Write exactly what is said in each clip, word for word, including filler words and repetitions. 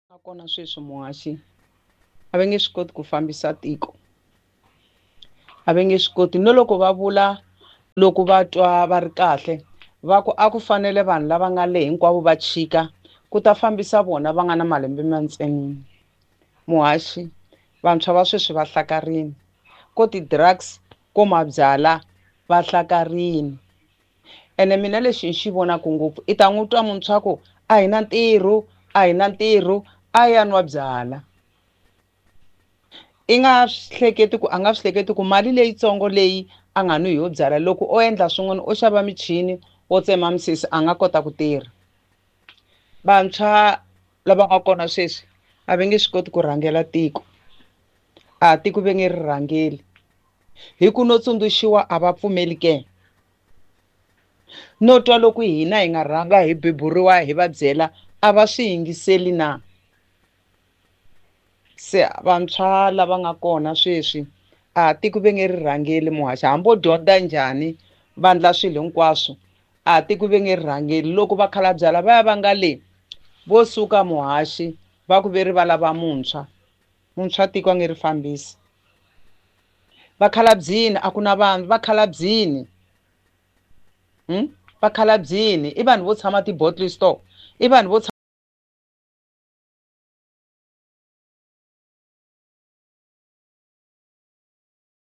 Kona sweswi muhaxi a va nge swi koti ku fambisa tiko, a va nge swi koti no loko va vula loko va twa va ri kahle va ku a ku fanele vanhu lava nga le hinkwavo va chika ku ta fambisa vona va nga na malembe mantsanana. Muhaxi vantshwa va sweswi va hlakarini ko ti-drugs ko mabyalwa va hlakarini ene mina lexi ni xi vonaka ngopfu i ta n'wi twa muntshwa ku a hi na ntirho a hi na ntirho a ya nwa byala. I nga hleketi ku a nga swi hleketi ku mali leyitsongo leyi a nga nwi yo byala loko o endla swin'wana o xava michini wo tsema misisi a nga kota ku tirha. Vantshwa lava nga kona sweswi a va nge swi koti ku rhangela tiko, a tiko va nge ri rhangeli hi ku no tsundzuxiwa a va pfumeli ke no twa loko hina hi nga rhanga hi beburiwa hi va byela a va swi yingiseli na. Se vantshwa lava nga kona sweswi a tiko va nge ri rhangeli muhaxi hambi vo dyondza njhani va endla swilo hinkwaswo a tiko va nge ri rhangeli. Loko vakhalabya lavaya va nga le vo suka muhaxi va ku ve ri va lava muntshwa, muntshwa tiko a nge ri fambisi. Vakhalabyini a ku na vanhu vakhalabyini hmm? Vakhalabyini i vanhu vo tshama ti-bottle store, i vanhu vo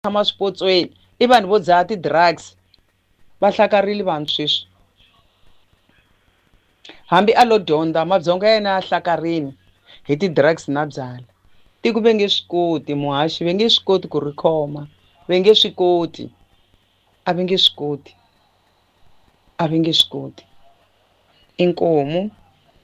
tshama swipotsweni, i vanhu vo dzaha ti-drugs. Va hlakarile vanhu sweswi hambi a lo dyondza mabyongo ya yena ya hlakarini hi ti-drugs na byala. Tiko va nge swi koti muhaxi va nge swi koti ku ri khoma, va nge swi koti, a va nge swi koti, a va nge swi koti. Inkomu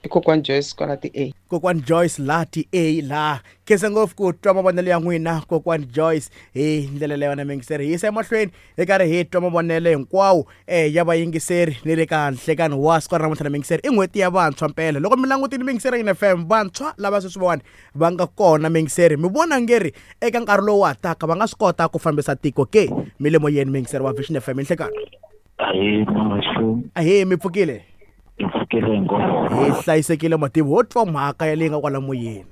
i kokwani Joyce kwala ti-A. Kokwani Joyce la ti-A la. Khensa ngopfu ku twa mavonelo ya n'wina kokwani Joyce hi ndlela leyi yona miyingiseri. Hi yisa emahlweni hi karhi hi twa mavonelo hinkwawo eh ya vayingiseri ni le ka nhlekani wa siku ra namuntlha na miyingiseri. I n'hweti ya vantshwa mpela. Loko mi langutile miyingiseri ya F M vantshwa lava sweswiwani va nga kona miyingiseri mi vona ngeri eka nkarhi lowu wa taka va nga swi kota ku fambisa tiko ke? Mi le moyeni miyingiseri wa Vision F M nhlekani. Ahee mamaxo. Ahee mi pfukile? Hi pfukile hinkwavo. Hi hlayisekile matimu ho twa mhaka ya leyi nga kwala moyeni.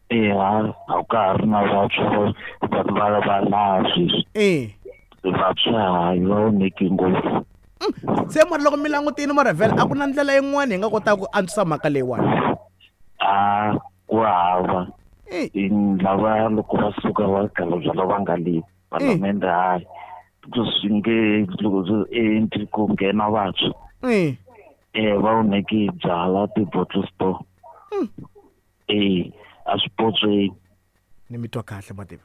Eya a ka ha ri na vantshwa vanhu va va laha sweswi. Eh. Vantshwa hayi va onheke ngopfu. Se mara loko mi langutile mara vhele a ku na ndlela yin'wana hi nga kotaka ku antswisa mhaka leyiwani? A ku hava. Lava loko va suka va khalabya lava nga le palamende hayi swi nge loko swi endli ku nghena vantshwa. Eh. Eh va onheke byala ti-bottle store. Eh a swipotsweni. Ni mi twa kahle mativa.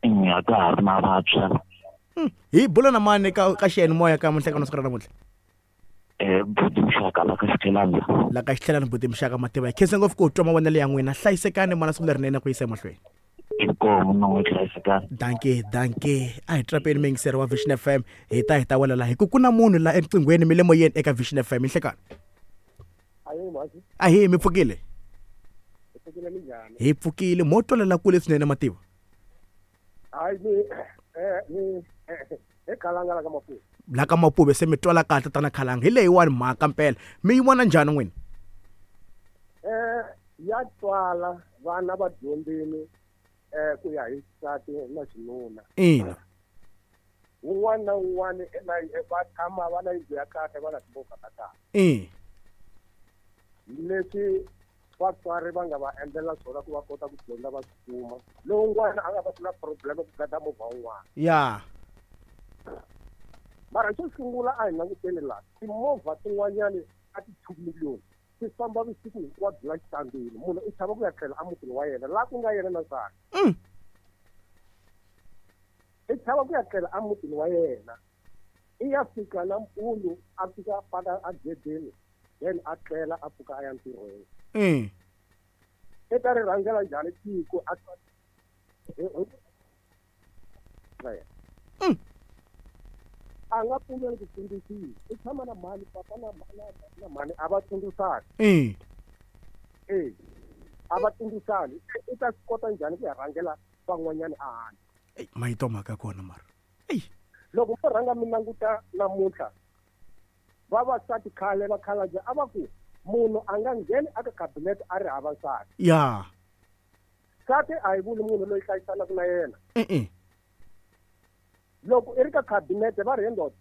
A ka ha ri na vantshwa. Hi bula na mani ka ka xiyanimoya ka munhlekano siku ra namuntlha? Eh buti Mxaka la ka Xitlhelani. La ka Xitlhelani buti Mxaka mativa. Hi khensa ngopfu ku twa mavonelo ya n'wina. Hlayisekani mana siku lerinene ku yisa emahlweni. Inkomu na n'we hlayisekani. Dankie, dankie. A hi trapeni miyingiseri wa Vision F M hi ta hi ta wela laha hi ku ku na munhu la eriqinghweni mi le moyeni eka Vision F M nhlekani. Ahee mi pfukile? Hi pfukile minjhani? Hi pfukile mo twalela kule swinene mativa. Hayi ni eh ni hi Khalanga la ka Mapuve. La ka Mapuve se mi twala kahle tana Khalanga. Hi leyiwani mhaka mpela. Mi yi vona njhani n'wina? Eh ya twala vana va dyondzile eh ku ya hi xisati na xinuna. Ina. Wun'wana na wun'wana va tshama va na yindlu ya kahle va na timovha ta kahle. Eh. Leswi vatswari va nga va endlela swona ku va kota ku dyondza va swi kuma. Lowun'wana a nga va na problem ku gada movha wun'wana. Ya. Mara xo sungula a hi languteni laha timovha tin'wanyani a ti two million ti famba vusiku hinkwabyo la xitandini. Munhu i chava ku ya tlhela emutini wa yena laha ku nga yena na nsati. I chava ku ya tlhela emutini wa yena. I ya fika nampundzu a fika a paka egedeni then a tlela a pfuka a ya ntirhweni. Mm. I ta ri rhangela njhani tiko a Mm. A nga pfumeli ku tsundzuxiwa. I tshama na mhani papa na na mhani a va tsundzuxani. Mm. Eh. A va tsundzuxani. I ta swi kota njhani ku ya rhangela van'wanyana a handle? Ey, mayito mhaka kona mara. Ey. Loko mo rhanga mi languta namuntlha vavasati khale vakhalabye a va ku Munhu a nga ngheni aka cabinet a ri hava nsati. Ya. Nsati a hi vuli munhu loyi hlayisanaka na yena. E-e. Loko i ri ka cabinet va ri ndoda.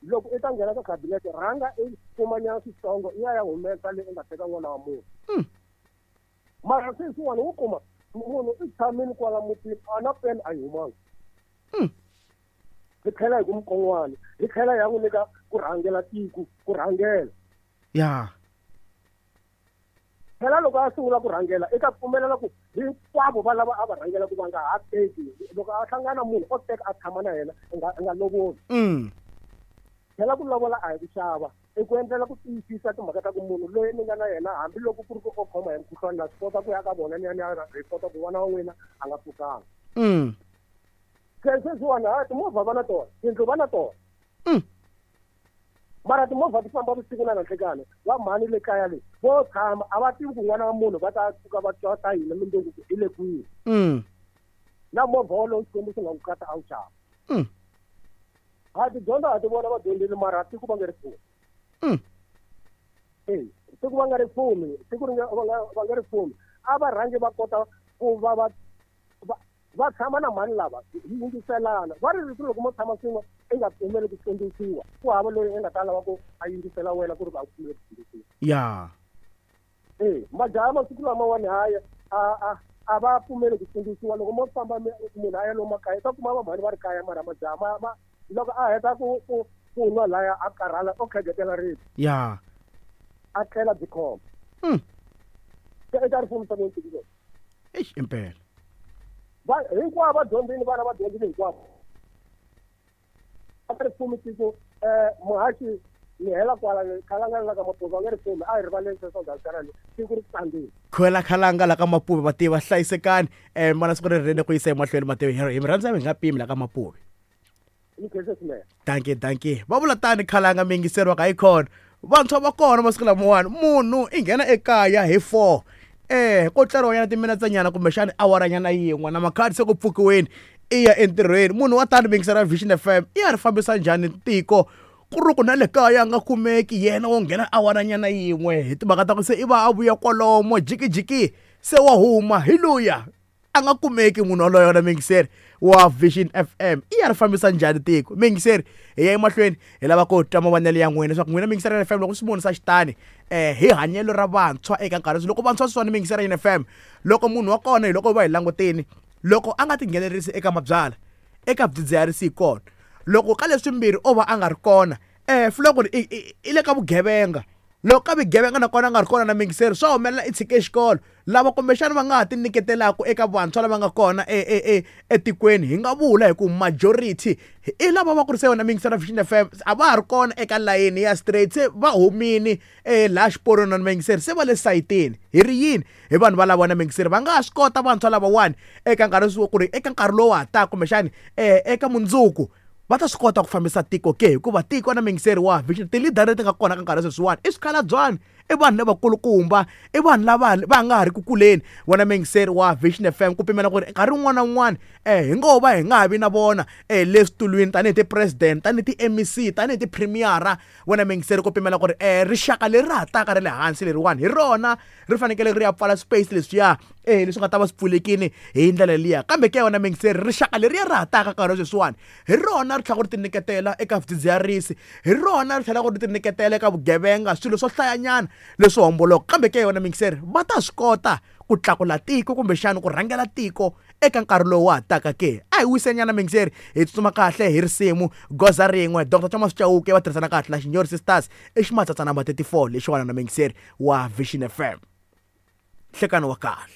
Loko i ta nghena ka cabinet rhanga i kumanyana switsongo i ya ya humesa leyi u nga teka n'wana wa munhu. Mm. Mara sweswiwani wo kuma munhu i tshamile kwala mutini a na peni a yi humanga. Mm. Hi tlhela hi ku mukon'wana hi tlhela ya n'wi nyika ku rhangela tiko ku rhangela. Ya. Phela loko a sungula ku rhangela i ta pfumelela ku hinkwavo va lava a va rhangela ku va nga ha teki loko a hlangana munhu o teka a tshama na yena a nga a nga lovoli. Mm. Phela ku lovola a hi ku xava i ku endlela ku tiyisisa timhaka ta ku munhu loyi ni nga na yena hambiloko ku ri ku o khoma hi mukhuhlwani na swi kota ku ya ka vona ni ya ni ya report ku n'wana wa n'wina a nga pfukanga. Mm. Se sweswiwani ha timovha va na tona tindlu va na tona. Mm. Mara timovha ti famba vusiku na nanhlekani va mhani le kaya le vo tshama a va tivi ku n'wana wa munhu va ta pfuka va twa ta hina mindyangu ku i le kwihi. Mm. Na movha wolowo Xikwembu xi nga ku kata a wu xava. Mm. Ha tidyondzo ha ti vona va dyondzile mara tiko va nge ri fumi. Mm. E tiko va nga ri fumi tiko ri nga va nga va nga ri fumi a va rhangi va kota ku va va va tshama na mhani lava hi yingiselana va ri rito loko mo tshama swin'we i nga pfumeli ku tsundzuxiwa ku hava loyi i nga ta lava ku a yingisela wena ku ri va pfumeli ku tsundzuxiwa. Ya. E majaha masiku lamawani haya a a a va pfumeli ku tsundzuxiwa loko mo famba munhu a ya lomu makaya ta kuma va mhani va ri kaya mara majaha ma ma loko a heta ku ku ku nwa laya a karhala o khegetela rito. Ya. A tlhela byi khoma. Mm. Se i ta ri fumisa ku yini? Eish impela. Va hinkwavo va dyondzile vana va dyondzile hinkwavo. A ri fumi tiko eh muhaxi ni hela kwala khalanga la ka Mapuve va nge ri fumi a hi rivaleni sweswo ndhawu tiko ri tsandzile. Khwela khalanga la ka Mapuve va tiva hlayisekani eh mana siku ri rene ku yisa emahlweni mativi hi mi rhandza mi nga pimi la ka Mapuve. Dankie dankie. Va vula tani khalanga mi yingiseriwa ka hi khona. Vantshwa va kona masiku lamawani munhu i nghena ekaya hi four. Eh ko tleriwa nyana timinetse nyana kumbexani awara nyana yin'we na makhadi se ku pfukiweni i ya entirhweni munhu wa tani yingisela Vision F M i ya ri fambisa njhani tiko ku ri ku na le kaya a nga kumeki yena wo nghena awara nyana yin'we hi timhaka ta ku se i va a vuya kwalomo jikijiki se wa huma hi luya a nga kumeki munhu waloyo na muyingiseri wa Vision F M i ya ri fambisa njhani tiko muyingiseri hi ya emahlweni hi lava ku twa mavonelo ya n'wina leswaku n'wina muyingiseri F M loko swi vonisa xitani eh hi hanyelo ra vantshwa eka nkarhi loko vantshwa sweswiwani muyingiseri F M loko munhu wa kona hi loko va hi langutini loko a nga tinghenelerisi eka mabyala eka vudzidziharisi hi kona loko ka leswimbirhi o va a nga ri kona eh fula ku ri i le ka vugevenga loko ka vugevenga nakona a nga ri kona na muyingiseri swa humelela i tshike xikolo lava kumbexana va nga ha ti nyiketelaka eka vantshwa lava nga kona etikweni hi nga vula hi ku majority i lava va kurisa yona muyingiseri Vision F M a va ha ri kona eka layeni ya straight se va humini laha xiporweni na muyingiseri se va le sayitini hi ri yini hi vanhu va lava na muyingiseri va nga ha swi kota vantshwa lavawani eka nkarhi ku ri eka nkarhi lowu ha taka kumbexani eka mundzuku va ta swi kota ku fambisa tiko ke hikuva tiko na muyingiseri wa Vision ti-leader leti nga kona ka nkarhi sweswiwani i swikhalabyanyi i vanhu lavakulukumba i vanhu lava va nga ha ri ku kuleni wena muyingiseri wa Vision F M ku pimela ku ri nkarhi wun'wana na wun'wana eh hi ngo va hi nga ha vi na vona eh le switulwini tanihi ti-president tanihi ti-M E C tanihi ti-premiera wena muyingiseri ku pimela ku ri eh rixaka leri ra ha taka ra le hansi leriwani hi rona ri fanekele ri ya pfala space leswiya eh leswi nga ta va swi pfulekini hi ndlela liya kambe ke wena muyingiseri rixaka leriya ra ha taka nkarhi sweswiwani hi rona ri tlhela ku ri tinyiketela eka vudzidziharisi hi rona ri tlhela ku ri tinyiketela eka vugevenga swilo swo hlayanyana leswo homboloka kambe ke yona muyingiseri va ta swi kota ku tlakula tiko kumbexana ku rhangela tiko eka nkarhi lowu wa ha taka ke a hi wisenyana muyingiseri hi tsutsuma kahle hi risimu goza rin'we Doctor Thomas Chauke va tirhisana kahle na Xinyori Sisters i ximatsatsa number thirty-four lexiwana na muyingiseri wa Vision F M nhlekano wa kahle.